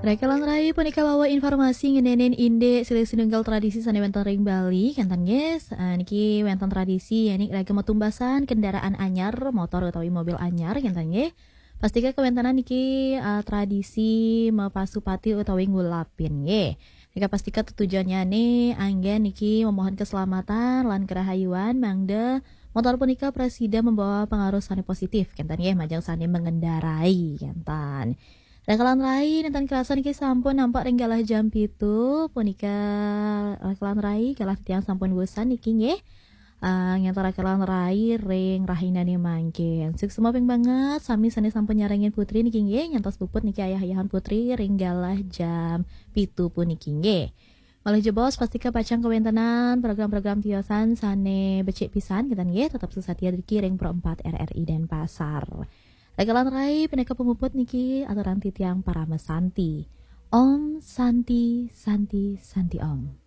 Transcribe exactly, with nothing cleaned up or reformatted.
Raka lan rai, punika wawu informasi ngeninin indik silih sinunggal tradisi sane wenten ring Bali, kenten nggih. Eh, niki wenten tradisi, ya, niki ragem matumbasan kendaraan anyar, motor utawi mobil anyar, kenten nggih. Pastika kawentenan niki, eh, tradisi mapasupati utawi ngulapin nggih. Nika pastika tetujonnyane anggen niki memohon keselamatan lan kerahayuan, mangda motor punika prasida membawa pengaruh sane positif, kenten nggih, majeng sane mengendarai, kenten. Raka lan rai, nenten kerasa niki sampun nampak ring galah jam pitu, punika raka lan rai, galah titiang sampun wusan niki nggih. Ah, ngantar raka lan rai ring rahinane mangkin. Suksma ping banget, sami sane sampun nyarengin putri niki nggih, nyantos puput niki ayah-ayahan putri ring galah jam pitu puniki nggih. Malih jebos, pastika pacang kawentenan program-program tiosan sane becik pisan, kenten nggih, tetep sesatia driki ring Pro empat R R I Denpasar. Raka lan rai, pinaka pamuput niki aturang titiang Parama Santi. Om Santi, Santi, Santi Om.